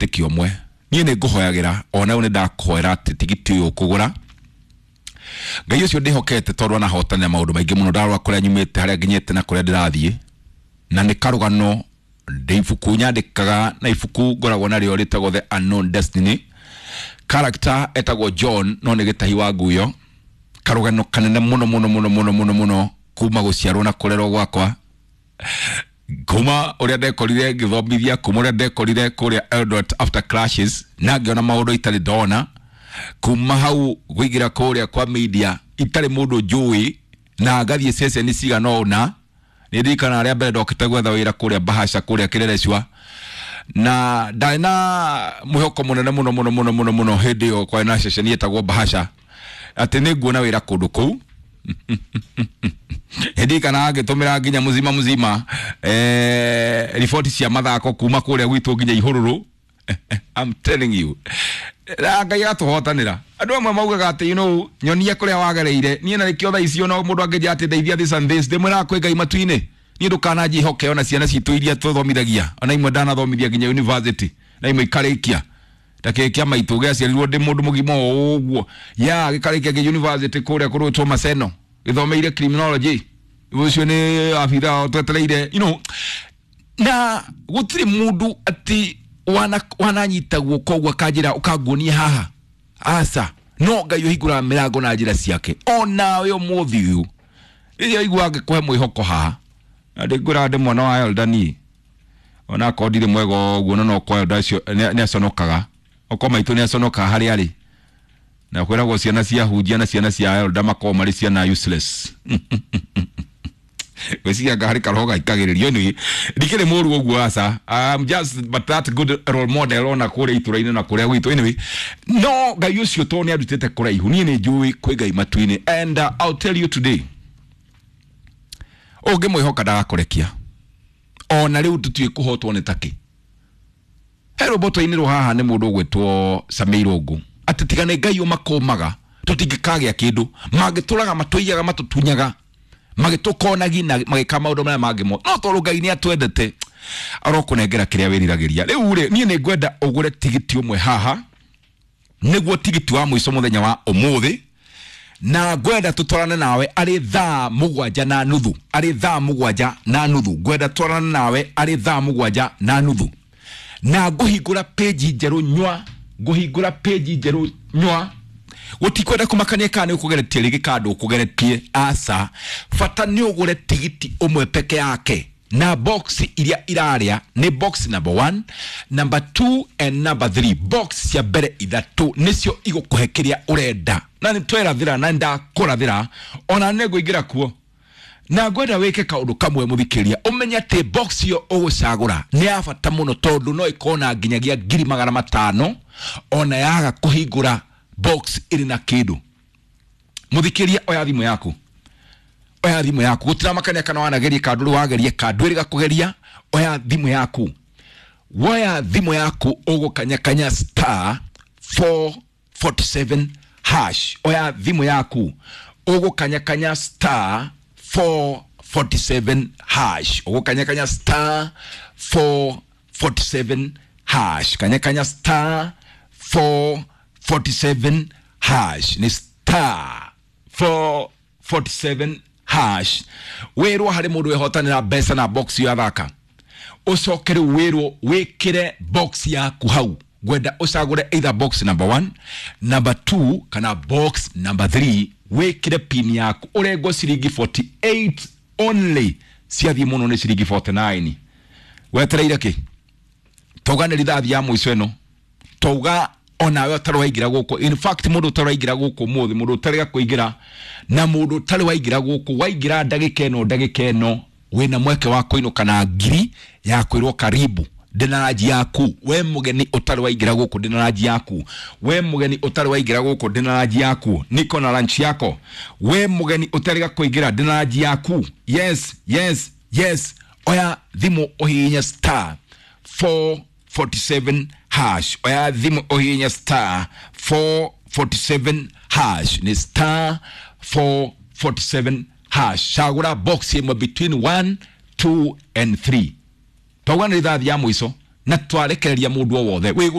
Wĩtĩkio ũmwe niĩ nĩ ngũhoyagĩra, ona rĩu nĩ ndakũhoera atĩ tigiti ũyũ ũkũgũra, Ngai ũcio ndĩhokete, tondũ anahotanĩra maũndũ maingĩ mũno. Ndarora kũrĩa nyumĩte, harĩa nginyĩte na kũrĩa ndĩrathiĩ, na nĩ karũgano ndĩ ibuku nyandĩkaga, na ibuku ngoragwo narĩo rĩtagwo The Unknown Destiny. Character etagwo John, no nĩ gĩtahi wa nguyo. Karũgano kanene mũno mũno mũno mũno mũno mũno, kuma gũciarwo na kũrerwo gwakwa, kuma ũrĩa ndekorire ngĩthomithia, kuma ũrĩa ndekorire kũrĩa Eldoret after clashes na ngĩona maũndũ itarĩ ndona, kuma hau kũingĩra kũrĩa kwa media itarĩ mũndũ njũĩ, na ngathiĩ ceceni cigana ũna. Nĩ ndirikana arĩa mbere ndokĩte gwetha wĩra kũrĩa Bahasha, kũrĩa Kĩrerecua, na ndarĩ na mwĩhoko mũnene mũno mũno mũno mũno mũno. Hĩndĩ ĩyo kwarĩ na ceceni ĩtagwo Bahasha, atĩ nĩ nguona wĩra kũndũ kũu. Ndirikana ngĩtũmĩra nginya mzima mzima riboti cia mathako kuma kũrĩa gwitũ nginya Ihũrũrũ. I'm telling you, na Ngai agatũhotanĩra. Andũ amwe maugaga atĩ nyonia kũrĩa wagereire. Niĩ na nĩkĩo thaa icio no mũndũ angĩnjĩra atĩ ndeithia this and this, ndĩmwĩraga kwĩ Ngai matu-inĩ. Niĩ ndũkananjĩhoke. Ona ciana citũ iria tũthomithagia, ona imwe ndanathomithia nginya university na imwe ikarĩkia, ta kĩĩ kĩa maitũ gĩaciarirwo ndĩ mũndũ mũgima o ũguo ya gĩkarĩkia nginya university kũrĩa kũrũtwo Maseno, gĩthomeire criminology. Ũcio nĩ abitha twetereire na gũtirĩ mũndũ atĩ wananyita guoko ũguo akanjĩra ũkanguonia haha, aca. No Ngai ũhingũraga mĩrango na njĩra ciake. Onawe ũmũthĩ ũyũ rĩrĩa ũigua angĩkũhe mwĩhoko haha, na ndĩngwĩraga ndĩ mwana wa elder niĩ, ona akorwo ndirĩ mwega ũguo, no kwa elder acio nĩ aconokaga, okorwo maitũ nĩ aconokaga harĩa arĩ, na kwĩragwo ciana cia hunjia na ciana cia elder makoragwo marĩ ciana useless. Gwĩciria anga harĩ karoho gaikagĩrĩrio. Anyway, ndikĩrĩ mũru ũguo, aca. I'm just but that good role model ona kũrĩa itũra-inĩ na kũrĩa gwitũ. Anyway, no Ngai ũcio tondũ nĩ andutĩte kũraihu, niĩ nĩ njũĩ kwĩ Ngai matu-inĩ, and I'll tell you today, ũngĩmwĩhoka ndagakũrekia. Ona rĩu tũtiũĩ kũhotwo nĩ takĩ. He rwĩmbo twainĩrwo haha nĩ mũndũ ũgwĩtwo Samĩ Irũngũ, atĩ tiga nĩ Ngai ũmakũmaga tũtingĩkagĩa kĩndũ, mangĩtũraga, matũiyaga, matũtunyaga, magĩtũkonagi na magĩka maũndũ marĩa mangĩ mo, no tondũ Ngai nĩ atwendete arokũnengera kĩrĩa wĩriragĩria. Rĩu rĩ, niĩ nĩ ngwenda ũgũre tigiti ũmwe haha, nĩguo tigiti wa mũico mũthenya wa ũmũthĩ, na ngwenda tũtwarane nawe arĩ 7:30, arĩ 7:30. Ngwenda twarane nawe arĩ 7:30, na ngũhingũra page njerũ nywa, ngũhingũra page njerũ nywa. Gũtikwenda kũmakania kana nĩ ũkũgeretie rĩngĩ kana ndũkũgeretie, aca. Bata nĩ ũgũre tigiti ũmwe peke yake, na box iria irarĩa nĩ box number 1, number 2 and number 3. Box cia mbere ithatũ nĩcio igũkũhe kĩrĩa ũrenda, na nĩ twerathĩra na ndakũrathĩra, ona nĩ ngũingĩra kuo. Na ngwenda wĩke kaũndũ kamwe, mũthikĩria, ũmenye atĩ box ĩyo ũgũcagũra nĩ ya bata mũno, tondũ no ĩkorwo na nginyagia 500,000 ona yaga kũhingũra box ĩrĩ na kĩndũ. Mũthikĩria, oya thimũ yaku, oya thimũ yaku. Gũtiramakania kana wanageria kana ndũrĩ wageria kana ndwĩrĩga kũgeria, oya thimũ yaku. Woya thimũ yaku, ũgũkanyakanya *447#. Oya thimũ yaku, ũgũkanyakanya *447#, ũgũkanyakanya *447#. Kanyakanya *447#, nĩ *447#. Wĩrwo harĩ mũndũ wehotanĩra mbeca na box yo athaka, ũcoke rĩu wĩrwo wĩkĩre box yaku hau. Ngwenda ũcagũre either box number 1, number 2 kana box number 3, wĩkĩre pin yaku, ũrengwo ciringi 48 only, ciathiĩ mũno nĩ ciringi 49. Wetereire kĩ? Tauga nĩ rithathi ya mũico ĩno. Tauga onawe ũtarĩ waingĩra gũkũ, in fact mũndũ ũtarĩ waingĩra gũkũ ũmũthĩ, mũndũ ũtarĩ kũingĩra na mũndũ ũtarĩ waingĩra gũkũ, waingĩra ndagĩka ĩno, ndagĩka ĩno wĩna mweke wa kũinũka na ngiri ya kwĩrwo karibu, ndĩna ranji yaku. We mũgeni ũtarĩ waingĩra gũkũ, ndĩna ranji yaku. We mũgeni ũtarĩ waingĩra gũkũ, ndĩna ranji yaku, niko na lunch yako. We mũgeni ũtarĩ kũingĩra, ndĩna ranji yaku. Yes, oya thimũ ũhihinye *447#. Oya thimũ ũhihinye *447#, nĩ *447#. Cagũra box ĩmwe between 1, 2 and 3. Twauga nĩ rithathi ya mũico. Na twarekereria mundu o wothe.